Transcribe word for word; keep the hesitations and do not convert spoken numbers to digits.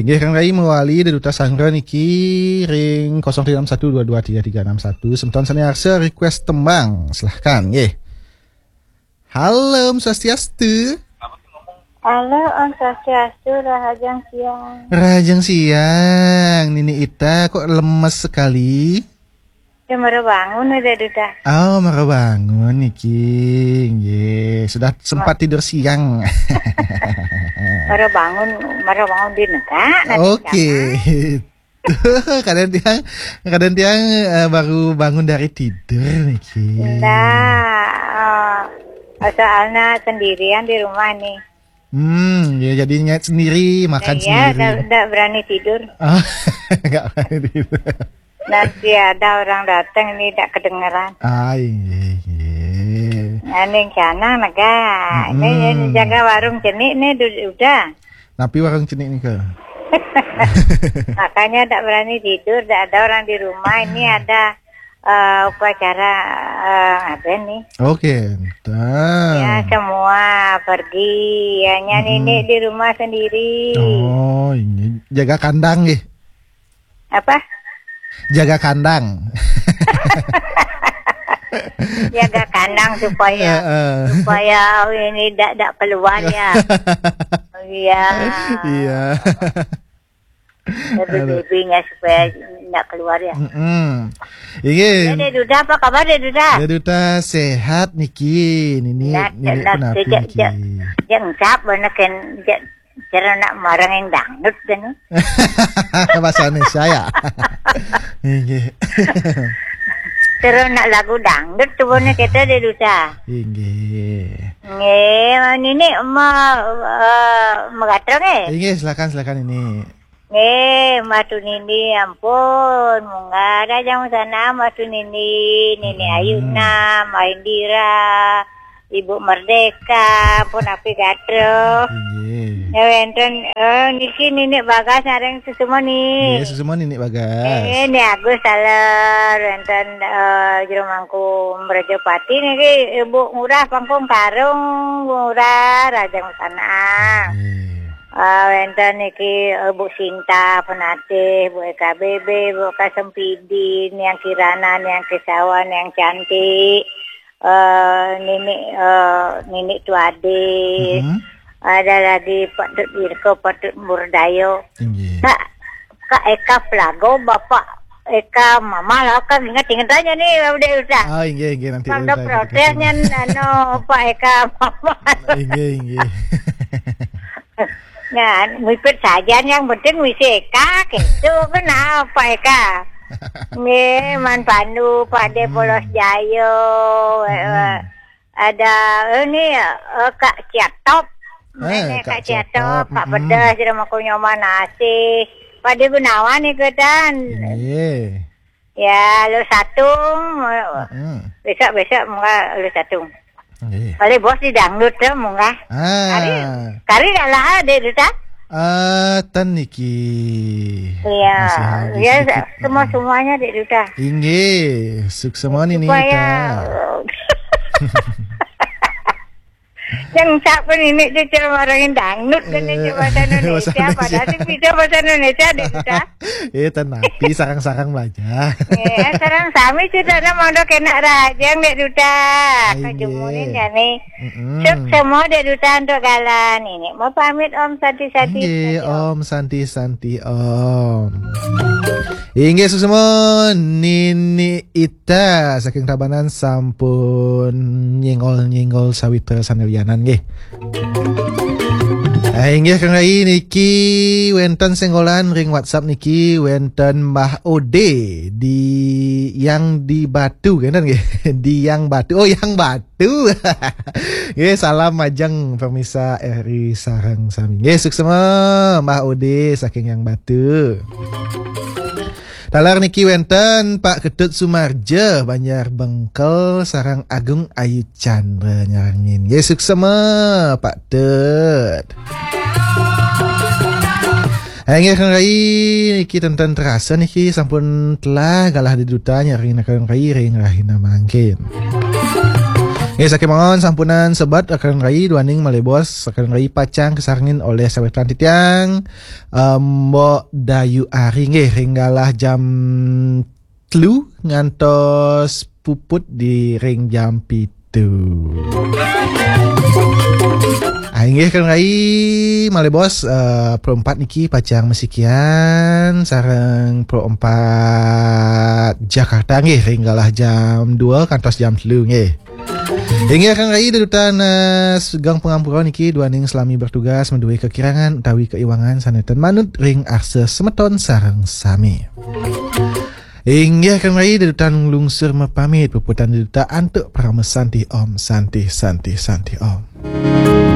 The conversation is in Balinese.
Nggih, Kang Rai mewali Dé Duta Sangra niki ring kosong tiga enam satu dua dua tiga tiga enam satu. Semeton sané arsa request tembang, silahkan nggih. Halo, Om Swastiastu. Halo, Om Swastiastu, rahajeng siang. Rahajeng siang, Nini Ita, kok lemes sekali? Ya, mara bangun udah, Duta. Oh, mara bangun niki. Nggih, sudah sempat tidur siang. Mara bangun, mara bangun di negara, nanti Oke. Tuh, kadang tiang, kadang tiang eh, baru bangun dari tidur niki. Ndak, eh, soalnya sendirian di rumah nih. Hmm, ya jadinya sendiri, makan Iya, sendiri. Ndak, ndak berani tidur. Ah, nggak berani tidur. Nanti ada orang datang ini ndak kedengeran. Ah, iya, iya. Aning canang nega. Ini Mm-mm. Yang jaga warung cenik nih du- udah. Napi warung cenik nih ke? Makanya tak berani tidur, tak ada orang di rumah. Ini ada eh, upacara eh, apa nih? Oke, entah. Ya, semua pergi. Hanya Mm-mm. Nini di rumah sendiri. Oh, ini jaga kandang nggih. Apa? Jaga kandang. Jaga kandang supaya Heeh. Supaya ini dak dak keluar ya. Iya. Iya. Aduh. Baby-babynya supaya ndak keluar ya. Mm-mm. Iya. Ya, Dé Duta, apa kabar, Dé Duta? Dé Duta sehat niki. Nini, Nah, nini nah, pun napi sejak niki. Sejak sejak encap bener kan sejak cara nak marang yang dangdut kan. Bahasa Indonesia ya. Nggih. Terus nak lagu dangdut tuh bener kita, Dé Duta. Nggih. Nggih, Nini mau eh, megatrong eh. Nggih, silakan silakan ini. Nggih, Mbak Tunini, ampun, munggah ada jam sana Mbak Tunini, Nini Hmm. Ayuna, Mbak Indira, Ibu Merdeka, pun api gatro. Nggih. Ya wénten eh, niki Nini Bagas sareng sesama nih. Nggih, sesama Nini Bagas. Eh, ini Agus Taler, wénten eh, Jero Mangku Mrejopati niki Ibu Ngurah Pangkung Karung, Ngurah Rajang Sana. Nggih. Ah, wénten niki eh, Bu Sinta Penatih, Bu Eka B B, Bu Kasempidi, Niang Kirana, Niang Kesawan, Niang Cantik, eh, Nini eh, Nini Tuade. Mm-hmm. Ada lagi Pak Tut Wirko, Pak Tut Murdayo. Nggih. Kak, Kak Eka Pelago, Bapak Eka Mama lah kan ingat-ingat aja nih udah udah. Oh, nggih nggih nanti. Kalau udah protesnya anu Pak Eka Mama. Nggih nggih. Nah, mipit saja yang penting misi Eka gitu. Kenapa Eka? Nggih, Man Pandu, Pak De Polos Jayo, eh, ada ini eh, Kak Ciatop. Eh, Nenek Kak Kak Ciatop, Ciatop, Kak mm-mm. Pedas, Remaku Nyoman Asih. Pak De Gunawan ikutan. Iya. Ya, lu satung. Mm-mm. Besok-besok munggah lu satung. Nggih. Kali bos di dangdut tuh munggah. Ah. Kari, kari dah lah deh tu tak? Ah, tan niki. Iya. Masih lagi ya, sedikit. Semua-semuanya dek Duta. Inggih, suksema Nini Supaya Ita. Yang siapa ini cucu orang dangdut kan Eh, bahasa Indonesia, bahasa padahal Indonesia. Sing bisa bahasa Indonesia dek Duta. Eh, tan napi sarang-sarang belajar. Eh, sarang sami cucu nak mau dok enak rajang dek Duta. Inggih. Kajumunin ya nih. Mm-mm. Suksema dek Duta untuk galan ini. Mau pamit Om Santi Santi. Inggih, Santi, Om. Om Santi Santi Om. Inggih suksema Nini Ita saking Tabanan sampun nyenggol-nyenggol sawitra sanelianan nggih. Ah, inggih Kang Rai niki wénten senggolan ring WhatsApp niki wénten Mbah Ode di yang di Batu kan nggih. Di yang Batu. Oh, yang Batu. Nggih, salam majeng pemirsa R I sareng sami. Nggih, suksema Mbah Ode saking Yang Batu. Taler niki wénten Pak Ketut Sumarja Banjar Bengkel sareng Agung Ayu Chandra nyarengin. Nggih, suksema Pak Tut. Inggih Kang Rai niki ten-ten terasa niki sampun telah galah dek Duta nyarengin Kang Rai ring rahina mangkin. Eh, sakémaon sampunang sebat Rakan Rai duaning malih bos, Rakan Rai pacang kasarengin olih sawetan titiang, eh, Mbok Dayu Ari nggih ring galah jam telu ngantos puput di ring jam pitu. Ah, inggih Rakan Rai malih bos, eh, Pro empat niki pacang masikian sareng Pro empat Jakarta nggih ring galah jam dua kantos jam telu nggih. Inggih Rakan Rai dedutan, eh, sugeng pangampura niki duaning salami bertugas madué kakirangan utawi kaiwangan sané ten manut ring arsa semeton sareng sami. Inggih Rakan Rai dedutan lungsur mapamit, puputang dedutan antuk parama santi om, santi, santi, santi om.